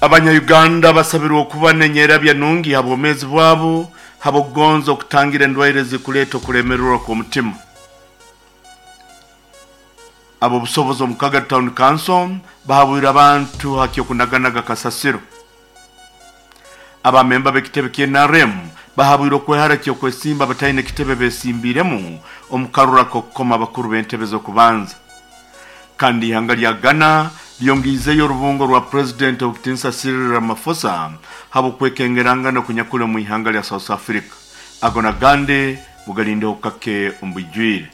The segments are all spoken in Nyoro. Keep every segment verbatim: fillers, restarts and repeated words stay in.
Abanyayuganda basabirwe okuba n'enyerabya nungi ha bwomeezi bwabo habw'okugonza okutangira endwaire zikuleeta okulemererwa kw'omutima. Ab'obusobozi omu Kagadi Town Council bahabwire abantu ha ky'okunaganaga kasasiro. Abamemba b'ekitebe kya N R M bahabwire okwehara ky'okwesimba bataine kitebe besimbiremu omu karura k'okukoma abakuru b'entebe z'okubanza. Kandi ihanga lya Ghana lyongiizeyo orubungo rwa President Obukitinsa Cyril Ramaphosa habw'okwekengerangana okunyakuli omu ihanga lya South Africa. Ago nagandi mugalindeho kake omu bwijwire.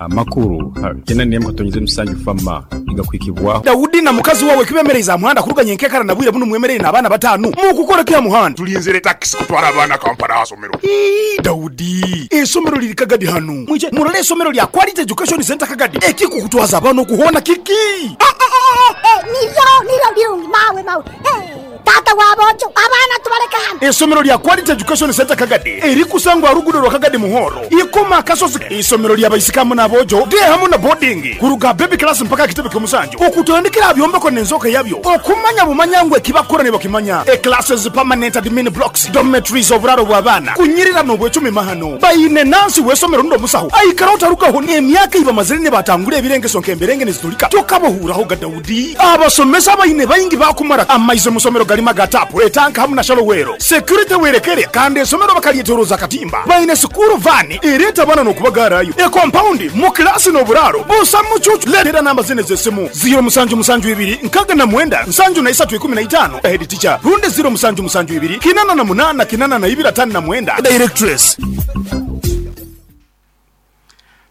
Amakuru kenda n'emu katonyize musanju fama igakuhikibwaho. Daudi na mukazi wawe kibemereza muhanda kuruganya enkekara na bwire buno mwemerere n'abaana bataano mukukora kya muhanda. Tulinzire takisi kutwara abaana Kampala ahasomero. Ii, Daudi, esomero liri Kagadi hano. Mwije murole esomero lya Quality Education Center Kagadi. Ekikukutwaza abaana okuhona kiki? Eh, eh, eh, niryo niryo birungi mawe mawe. Eh, tata wabojo abaana tubaleka hano. Esomero lya Quality Education Center Kagadi erikusangwa rugudo rwa Kagadi Muhoro ikoma akasozi. Isomero lya baisikamu n'abojo de hamu na boarding kuruga baby class mpaka kitebe ky'omusanju okutandikira byombeko n'enzoka yabyo okumanya bumanya ngwe kibakora ne bakimanya. E classes, permanent admin blocks, dormitories, oburaro bw'abaana kunyirira n'obwecumi mahano bayine nansi w'esomero ndo musaho aikara otarugaho emyaka iba mazire ne batangura ebirengeso nk'emberenge nezitulika tokabohuraho ga Daudi. Abasomesa bayine bayingi bakumara amaize musomero galima gatapu etanka hamu na shalowero security werekere kandi esomero bakalyetoroza katimba bayine sukuru vani ereta bana n'okubagarayo e compound mu klasi n'oburaro busa mucucu. Letera namba zine z'esimu zero musanju musanju ibiri nkaga na mwenda nsanju na isatu ikumi na itano head teacher runde zero musanju musanju ibiri kinana na munana kinana na ibiri atano na mwenda directress.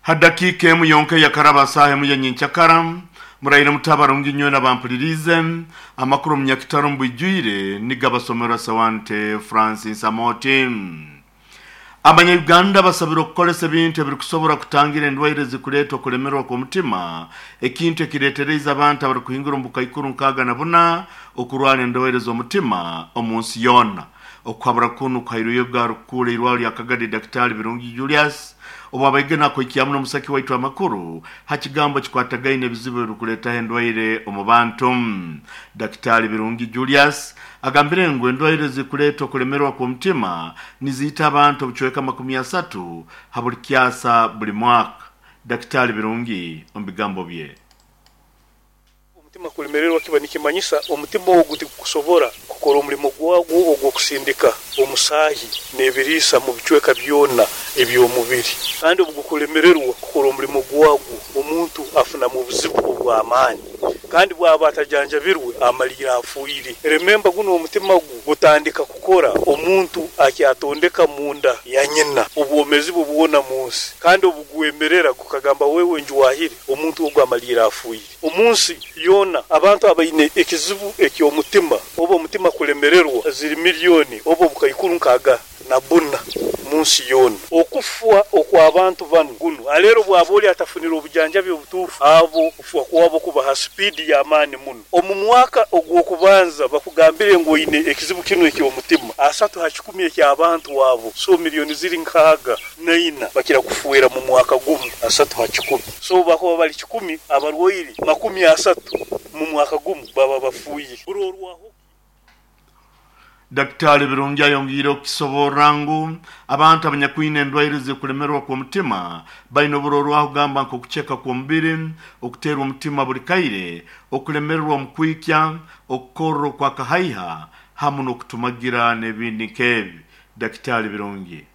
Hadakika emu yonka yakaraba saha emu yenyincakara muraire mutabarungi nywe nabampulirize amakuru munyakitaro mbwijwire nigabasomera Sawante Francis Amoti. Abanyayuganda basabira okukolesa ebintu ebirikusobora kutangira endwaire zikuleetwa okulemerwa kw'omutima, ekintu ekireetereza abantu abarikuhingura omu bukaikuru nkaaga na buna okurwara endwaire z'omutima omu nsi yoona. Okuhabura kunu kuhairweyo garukuura eirwaro lya Kagadi Daktari Birungi Julius obu abaigena akoikyamu n'omusaki waitu amakuru ha kigambo kikwatagaine ebizibu ebirikuleetaho endwaire omu bantu. Daktari Birungi Julius agambire ngu endwaire zikuleetwa okulemerwa kw'omutima niziita abantu obucweka makumi asatu ha buli kyasa buli mwaka. Daktari Birungi omu bigambo bye. Omutima kulemererwa kiba nikimanyisa omutima ogu tigukusobora kukora omulimo gwagwo ogw'okusindika omusaahi n'ebiriisa mu bicweka byona eby'omubiri. Kandi obu gukulemererwa kukora omulimo gwagwo, omuntu afunamu obuzibu obw'amaani. Kandi bwaba atajanjabirwe amalira afuire. Rememba guno omutima gu gutandika kukora omuntu akyatondeka munda ya nyina obwomezi bwe bwona mu nsi. Kandi obu gwemerera gukagamba wewe njuwahire, omuntu ogu amalira afuire. Omu nsi yoona abantu abaine ekizibu eky'omutima oba omutima kulemererwa ziri miliyoni oba obukaikuru nkaaga na buna mu nsi yoona. Okufa okw'abantu banu guno aleero bwaba oli atafunire obujanjabi obutuufu abo okufa kwabo kuba ha sipiidi y'amaani muno. Omu mwaka ogw'okubanza bakugambire ngu oine ekizibu kinu eky'omutima, asatu ha kikumi eky'abantu abo, so miliyoni ziri nkaaga naina bakira kufuera mu mwaka gumu, asatu ha kikumi. So bakuba bali kikumi abarwaire makumi asatu mu mwaka gumu baba bafuire. Burorwaho. Daktari Birungi ayongiire okukisoborra ngu abantu abanyakwine endwaire zikulemerwa kw'omutima baine oburorwaho kugamba nk'okuceka kw'omubiri, okuteerwa omutima buli kaire, okulemererwa omu kwikya, okukorra okwakahaiha hamu n'okutumagira n'ebindi nk'ebi. Daktari Birungi.